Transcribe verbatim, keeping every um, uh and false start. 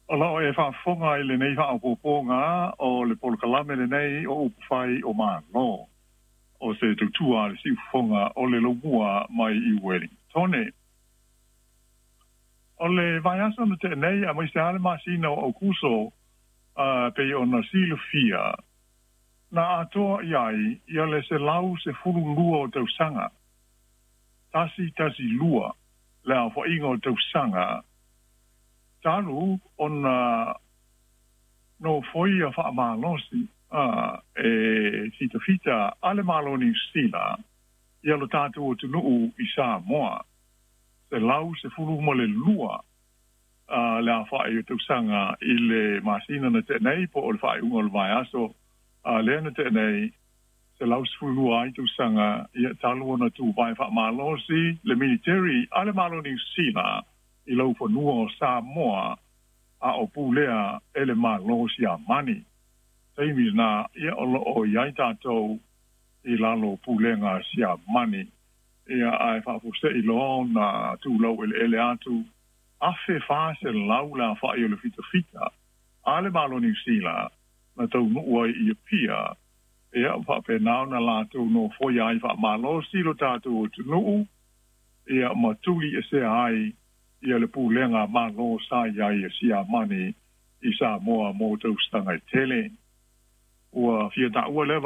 O loo e faafofoga i lenei faaopoopoga o le polokalame lenei o Upufai o Malo, o se tautua a le siufofoga o le laumua mai i Uelintone. O le vaiaso na tea nei aemaise lava le masina o Aokuso, pei ona silafia, na atoa i ai ia le selau sefulu lua o tausaga, tasi tasi lua le aofaiga o tausaga, talu ona nofoia faamalosi e fitafita a le Malo o Niu Sila ia lo tatou atunuu i Samoa. Selau sefulu ma le lua le aofai o tausaga i le masina na tea nei po o le faaiuga o le vaiaso lea na tea nei, selau sefulu lua ai tausaga ia talu ona tuvae faamalosi le militeri a le Malo o Niu Sila i laufanua o Samoa a o pulea e le Malo Siamani. Taimi lena ia o loo i ai tatou i lalo pulega Siamani, ia ae faafuasei loa ona tulau eleele atu afe fa selau le aofai o le fitafita a le Malo o Niu Sila na taunuu ai i Apia, ia faapena ona latou nofoia ai faamalosi lo tatou atunuu, ia ma tuli esea ai ia le pulega Malo sa i ai e Siamani i Samoa mo tausaga e tele. Ua fia taua lea